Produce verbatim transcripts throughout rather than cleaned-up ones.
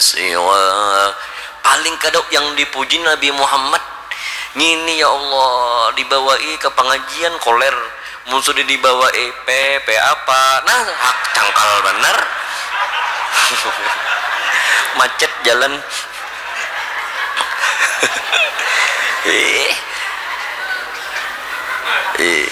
siwa. Paling kada yang dipuji Nabi Muhammad. Ngini ya Allah, dibawai ke pengajian koler. Mun sudah dibawai P P apa? Nah, hak cangkal benar. Macet jalan. Eh. Eh.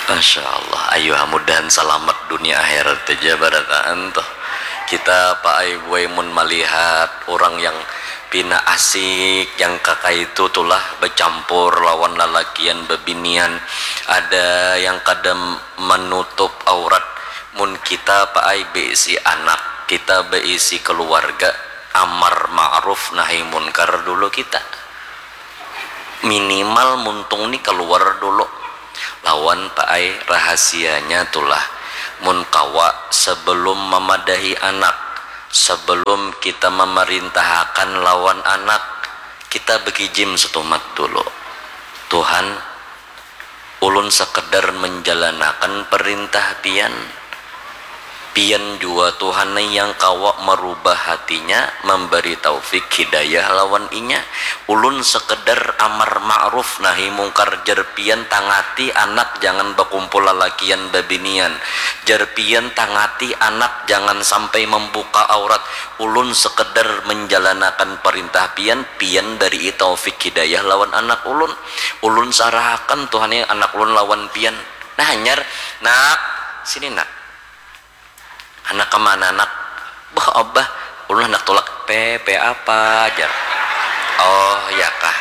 Masya Allah, ayo mudahan salamat dunia akhirat aja barataan tuh. Kita paai buai mun malihat orang yang pina asik, yang kakaitu tulah bacampur lawan lalakian babinian, ada yang kada manutup aurat. Mun kita paai baisi anak, kita baisi keluarga, amar ma'ruf nahi munkar dulu kita. Minimal muntung ni keluar dulu lawan paai rahasianya tulah. Mun kawa, sebelum memadahi anak, sebelum kita memarintahakan lawan anak, kita bekijim setumat dulu. Tuhan, ulun sekedar menjalanakan perintah pian. Pian jua Tuhan ai yang kawa merubah hatinya, memberi taufik hidayah lawan inya. Ulun sekedar amar ma'ruf nahi mungkar, jar pian tangati anak jangan bakumpul lalakian babinian, jar pian tangati anak jangan sampai membuka aurat. Ulun sekedar menjalanakan perintah pian, pian beri taufik hidayah lawan anak ulun. Ulun sarahakan Tuhan ai anak ulun lawan pian. Nah hanyar, nak, sini nak. Handak kemana nak? Bah abah, ulun handak tulak. P P apa? Jar. Oh ya kah.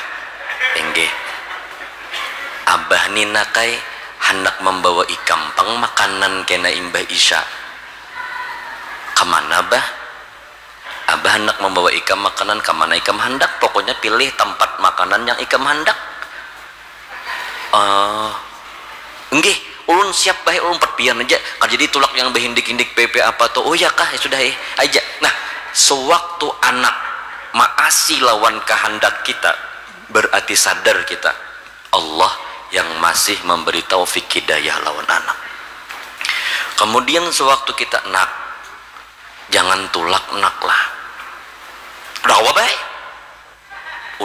Inggih. Abah ni nak ai handak membawa ikam pang makanan kena imbah isya. Kemana bah? Abah handak membawa ikam makanan kemana ikam handak, pokoknya pilih tempat makanan yang ikam handak. Oh, nggih, ulun siap baik, ulun umpat pian aja. Kada jadi tulak yang behindik-hindik P P apa tuh. Oh ya kah, ya sudah eh, aja. Nah, sewaktu anak maasi lawan kehendak kita, berarti sadar kita Allah yang masih memberi taufik hidayah lawan anak. Kemudian sewaktu kita nak, jangan tulak nak lah. Udah apa baik?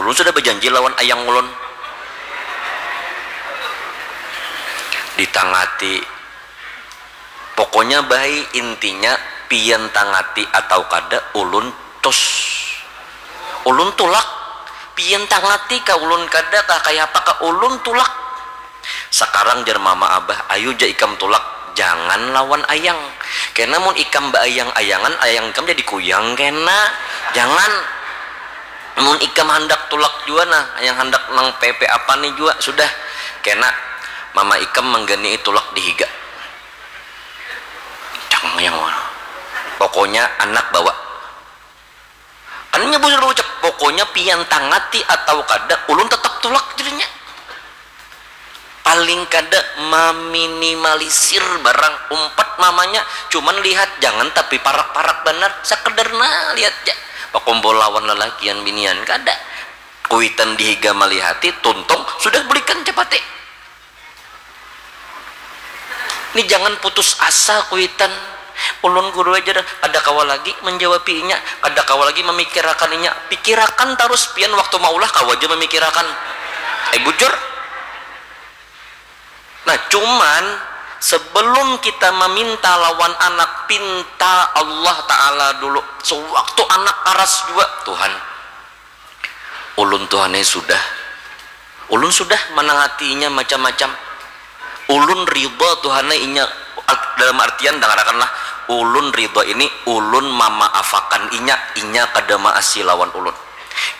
Ulun sudah berjanji lawan ayang ulun. Ditangati. Pokoknya baik intinya pian tangati atau kada ulun tus. Ulun tulak. Pian tangati kah ulun kada kah kaya apa kah ulun tulak. Sekarang jar mama abah, ayu ja ikam tulak, jangan lawan ayang. Kena mun ikam baayang-ayangan, ayang ikam jadi kuyang kena. Jangan. Mun ikam handak tulak jua nah, yang handak nang P P apa nih jua, sudah. Kena mama ikam mangganai tulak di higa. Jangan yang mana. Pokoknya anak bawa. Kan inya bujur baucap, pokoknya pian tangati atau kada, ulun tetap tulak jadinya. Paling kada meminimalisir barang, umpat mamanya, cuman lihat jangan tapi parak-parak banar, sekedar nah lihat ja. Bakumpul lawan lalakian binian kada. Kuitan di higa malihati, tuntung sudah belikan capati. Ni jangan putus asa kuitan. Ulun guru aja dah, kada kawa lagi menjawabi inya, kada kawa lagi memikirakan inya. Pikirakan tarus pian waktu maulah kawa aja memikirakan. Eh bujur. Nah cuman sebelum kita meminta lawan anak, pinta Allah Ta'ala dulu. Sewaktu anak aras jua, Tuhan, ulun tuh aneh sudah, ulun sudah manangatinya macam-macam. Ulun ridha tuh aneh inya, dalam artian dangarakanlah, ulun ridha ini ulun mamaafakan inya, inya kada maasi lawan ulun.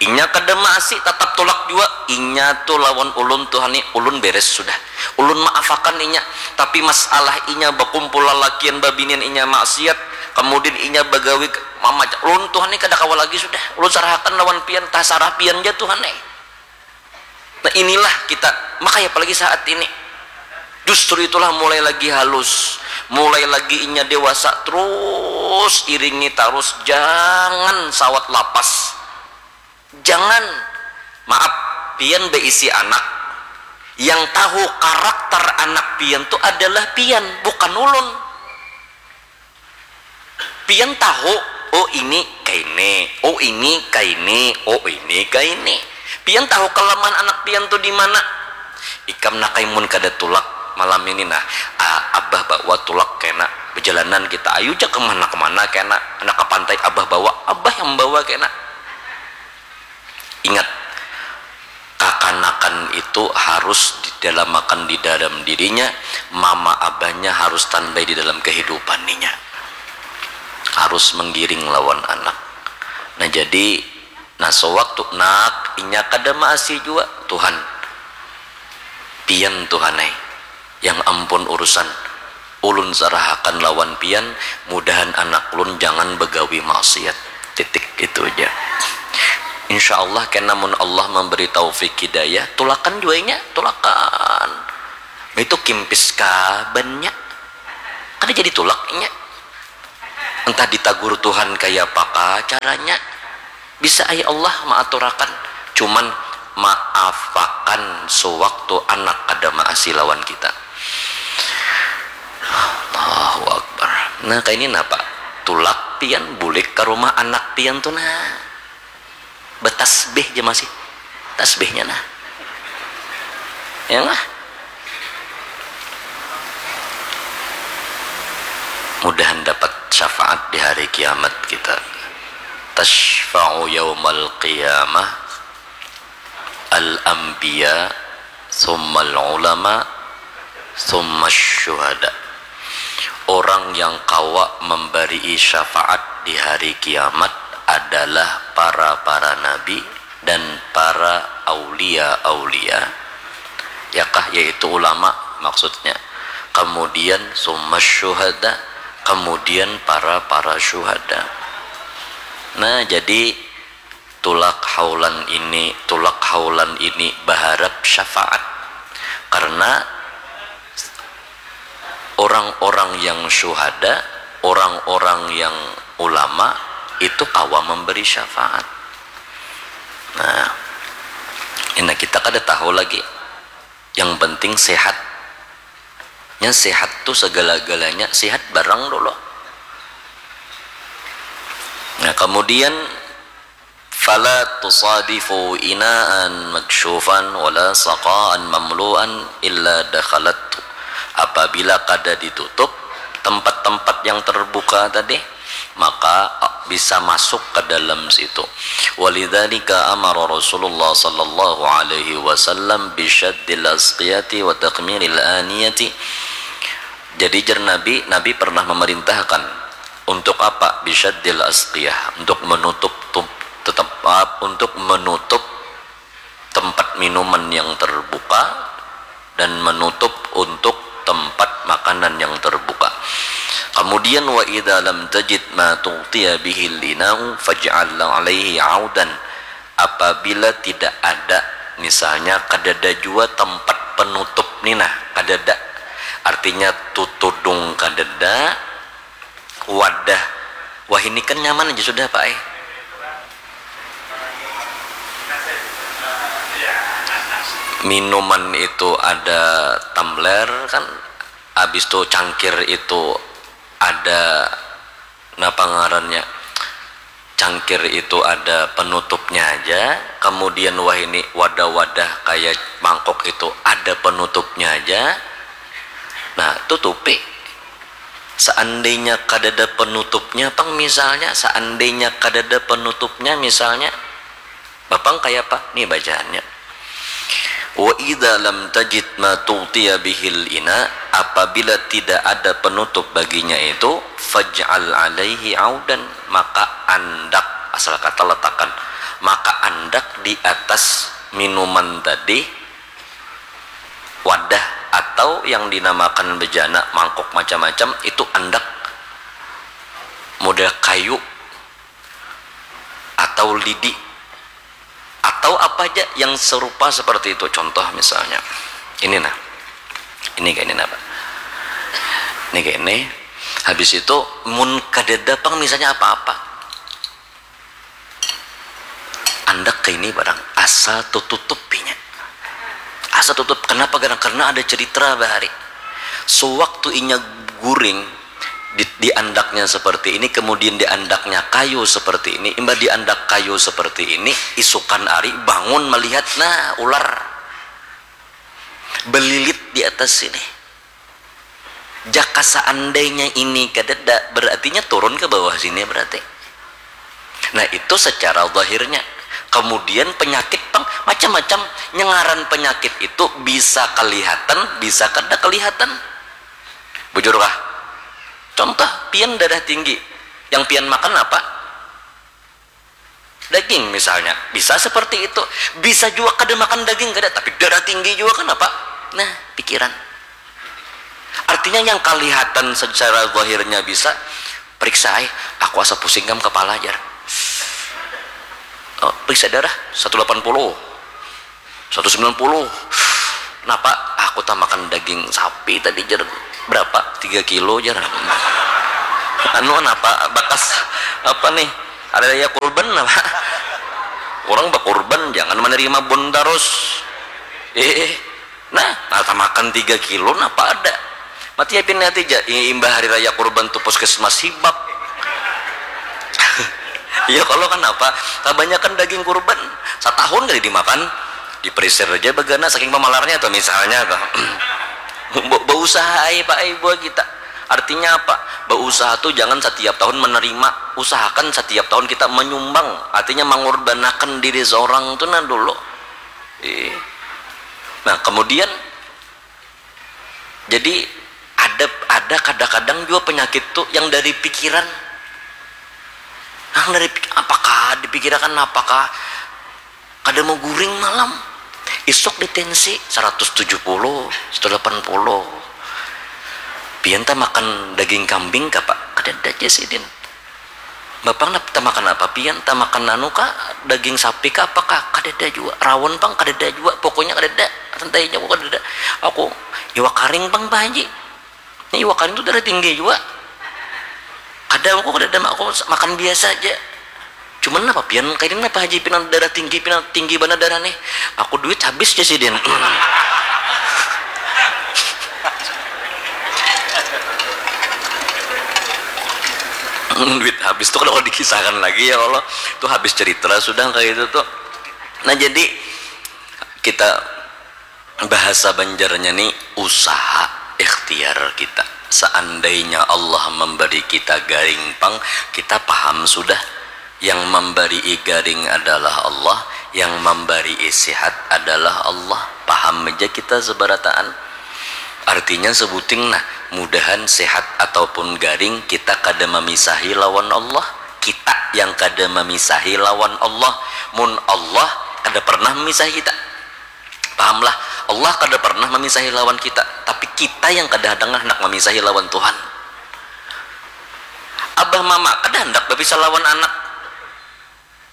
Inya kada maasi tatap tulak jua, inya tu lawan ulun tuh aneh, ulun beres sudah. Ulun maafakan inya, tapi masalah inya bakumpul lalakian babinian inya maksiat, kemudian inya bagawi mama ulun tuh aneh kada kawa lagi sudah, ulun sarahakan lawan pian, tasarah pian ja tuh aneh. Nah inilah kita, makanya apalagi saat ini justru itulah mulai lagi halus, mulai lagi inya dewasa, terus iringi tarus, jangan sawat lapas. Jangan, maaf, pian beisi anak, Yang tahu karakter anak pian tu adalah pian, bukan ulun. Pian tahu, oh ini kaini, oh ini kaini, oh ini kaini. Pian tahu kelemahan anak pian tu di mana. Ikam nak mun kada tulak malam ini nah, ah, abah bawa tulak kena, bejalanan kita, ayu ja kemana-kemana kena, nak ke pantai abah bawa, abah yang bawa kena. Ingat, kakanakan itu harus ditanamakan di dalam dirinya, mama abahnya harus standby di dalam kehidupan inya, harus menggiring lawan anak. Nah jadi, nah sewaktu nak inya kada maasi jua, Tuhan, pian Tuhan ai yang ampun urusan, ulun sarahakan lawan pian, mudahan anak ulun jangan begawi maksiat, titik, itu aja. Insya Allah kena mun Allah memberi taufik hidayah, tulakan jua inya, tulakan. Itu kimpis kabannya, kada jadi tulak inya. Entah ditagur Tuhan kaya apa kah caranya. Bisa ai Allah maaturakan, cuman maafakan sewaktu anak kada maasi lawan kita. Allahu Akbar. Nah kaini napa, tulak pian bulik ka rumah anak pian tu nah, betasbih ja masih, tasbihnya nah, ya lah. Mudahan dapat syafaat di hari kiamat kita. Tasyfa'u yaumal qiyamah al-anbiya, summal ulama, summa syuhada. Orang yang kawa memberi syafaat di hari kiamat adalah para-para nabi dan para aulia-aulia, yakah, yaitu ulama maksudnya, kemudian summa syuhada, kemudian para-para syuhada. Nah jadi tulak haulan ini, tulak haulan ini baharap syafaat. Karena orang-orang yang syuhada, orang-orang yang ulama itu kawa memberi syafaat. Nah, ini kita kada tahu lagi. Yang penting sehat. Nya sehat tu segala-galanya, sehat barang dulu. Nah, kemudian fala tusadifu inaan maksyufan wala saqaan mamluan illa dakhalathu. Apabila kada ditutup tempat-tempat yang terbuka tadi, maka bisa masuk ke dalam situ. Walidzalika amara Rasulullah sallallahu alaihi wasallam bisyaddil asqiyati wa takmilil aniyati. Jadi jer Nabi, Nabi pernah memerintahkan untuk apa? Bisyaddil asqiyah, untuk menutup tetap, untuk menutup tempat minuman yang terbuka dan menutup untuk tempat makanan yang terbuka. Kemudian wa idza lam tajid ma tughtiya bihil ina'u faj'al alaihi audan. Apabila tidak ada, misalnya kadada jua tempat penutup ni nah, kadada. Artinya tutudung kadada, wadah. Wah ini kan nyaman aja sudah Pak eh. Minuman itu ada tumbler kan, habis itu cangkir itu ada, napa ngarannya, cangkir itu ada penutupnya aja, kemudian wah ini wadah-wadah kayak mangkok itu ada penutupnya aja, nah tutupi. Seandainya kadada penutupnya pang misalnya, seandainya kadada penutupnya misalnya, bapang kaya apa nih bacaannya? Wa idza lam tajid ma tughtiya bihil ina, apabila tidak ada penutup baginya itu, faj'al alaihi audan, maka andak, asal kata letakan, maka andak di atas minuman tadi, wadah atau yang dinamakan bejana mangkuk macam-macam itu andak model kayu atau lidi atau apa aja yang serupa seperti itu. Contoh misalnya ini nah, ini kayak ini nah Pak, ini kayak ini. Habis itu mun kadada pang misalnya apa-apa, andak kaini barang asal tututupinya, satutup. Kenapa? Karena, karena ada cerita bahari. Sewaktu inya guring, di, diandaknya seperti ini, kemudian diandaknya kayu seperti ini, imbah diandak kayu seperti ini, isukan ari bangun melihat, nah, ular belilit di atas sini. Jaka seandainya ini kadada, berartinya turun ke bawah sini berarti. Nah, itu secara zahirnya. Kemudian penyakit pang macam-macam. Nyengaran penyakit itu bisa kelihatan, bisa kada kelihatan. Bujur kah? Contoh, pian darah tinggi. Yang pian makan apa? Daging misalnya. Bisa seperti itu. Bisa juga kada makan daging, kada, tapi darah tinggi juga kan apa? Nah, pikiran. Artinya yang kelihatan secara zahirnya bisa, periksa ai, aku asa pusing kam kepala, jar. Oh, periksa darah, satu delapan puluh, satu sembilan puluh. Napa? Aku tah makan daging sapi tadi, jar. Berapa? Tiga kilo, jar. Anu, napa? Bakas apa nih? Hari raya kurban apa? Orang bakurban, jangan menerima bun terus. Eh, nah, nata makan tiga kilo, napa ada? Mati yapin hati ja, i-, imbah hari raya kurban tu puskesmas hibak. Iya, kalau kan apa? Kebanyakan daging kurban, satahun kali dimakan, diperisir aja bagana saking pemalarnya tuh misalnya tuh. Be-, beusaha ai, Pak, ai, buat kita. Artinya apa? Beusaha tuh jangan setiap tahun menerima, usahakan setiap tahun kita menyumbang, artinya mengurbanakan diri seorang tuh nah dulu. Iya. Nah, kemudian jadi ada, ada kadang-kadang juga penyakit tuh yang dari pikiran. Nah, dari pik-, apakah dipikirakan apakah kada mau guring malam? Isuk ditensi seratus tujuh puluh, seratus delapan puluh. Pian tah makan daging kambing kah, Pak? Kadada ja sidin. Bapang napa, tamakan apa pian? Tamakan anu kah, daging sapi kah, apa kah? Kadada jua. Rawon pang kadada jua. Pokoknya kadada. Santainya aku kadada. Aku iwak karing pang, Pak Haji. Ini iwak karing tu darah tinggi jua. Kada, aku kadada, aku makan biasa aja. Cuman napa pian kaini, napa Haji pina darah tinggi, pina tinggi banar darah nih. Aku duit habis ja sidin. Duit habis tuh kalau dikisahkan lagi ya Allah, tuh habis cerita sudah kayak itu tuh. Nah, jadi kita bahasa Banjarnya nih usaha ikhtiar kita. Seandainya Allah memberi kita garing pang, kita paham sudah. Yang memberi garing adalah Allah, yang memberi sehat adalah Allah. Paham aja kita seberataan. Artinya sebuting nah, mudahan sehat ataupun garing kita kada memisahi lawan Allah. Kita yang kada memisahi lawan Allah. Mun Allah kada pernah memisahi kita. Pahamlah, Allah kada pernah memisahi lawan kita, tapi kita yang kadang-kadang handak memisahi lawan Tuhan. Abah mama kada handak bapisah lawan anak.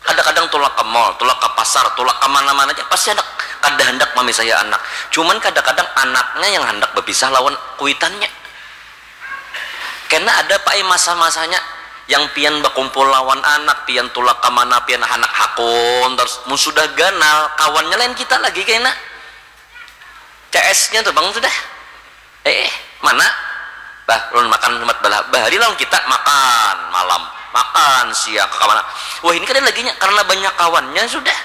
Kadang-kadang tulak ke mall, tulak ke pasar, tulak ke mana-mana aja, pasti handak, kada handak memisahi anak. Cuman kadang-kadang anaknya yang handak bapisah lawan kuitannya. Kena ada, Pak, ai, masa-masanya yang pian bakumpul lawan anak, pian tulak ka mana, pian handak hakun tarus. Mun sudah ganal, kawannya lain kita lagi kena. C S-nya tuh, Bang, sudah. Eh, mana? Bah, ulun makan Jumat bala. Bahari lawan kita makan malam, makan siang, ka mana? Wah, ini kada laginya karena banyak kawannya sudah.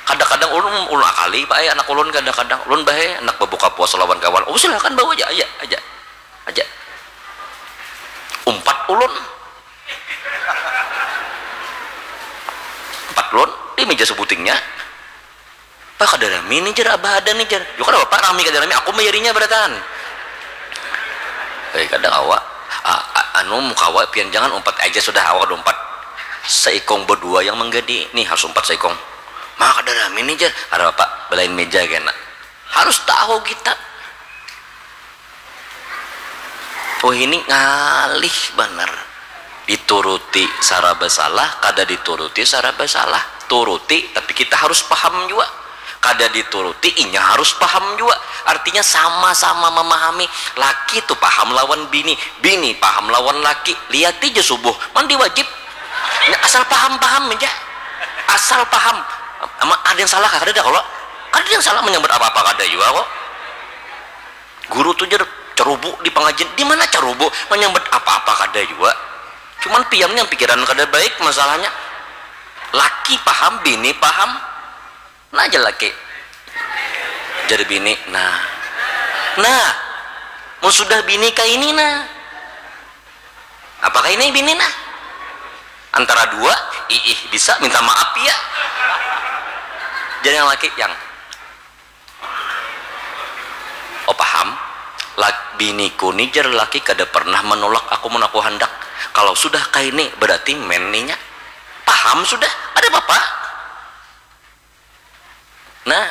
Kadang-kadang ulun, ulun akali, Pak, ai, anak ulun kadang-kadang. Ulun bahe, anak babuka puasa lawan kawan. Oh, silakan bawa aja, aja, aja. Aja. Umpat ulun. Umpat ulun di meja sebutingnya. Pak, kada rami nih, jar, Abah ada nih, jar. Yo kada apa-apa, rami kada rami, aku mayarinya barataan. Eh, kada kawa. A-, a-, anu, mun kawa, pian jangan umpat aja sudah, awak kada umpat. Seikung berdua yang menggadi, nih harus umpat seikung. Ma, kada rami nih, jar. Kada apa-apa, belain meja kena. Harus tahu kita. Oh, ini ngalih banar. Dituruti saraba salah, kada dituruti saraba salah. Turuti, tapi kita harus paham jua. Kada dituruti, inya harus paham jua. Artinya sama-sama memahami. Laki tu paham lawan bini, bini paham lawan laki. Liati ja subuh, mandi wajib. Nya asal paham-paham aja. Asal paham. Ama ada yang salah kah? Kadada kalo. Ada yang salah menyambat apa-apa kada jua kok. Guru tu jar cerubu di pengajian, di mana cerubu menyambat apa-apa kada jua. Cuman pian yang pikiran kada baik masalahnya. Laki paham, bini paham. Nah aja laki. Jadi bini, nah. Nah, mau sudah bini kayak ini nah. Apakah ini bini nah? Antara dua, iih bisa minta maaf ya. Jadi yang laki yang Oh paham? Lak biniku ni jar laki kada pernah menolak aku mun aku handak. Kalau sudah kaini berarti men ninya. Paham sudah? Ada apa-apa? Nah,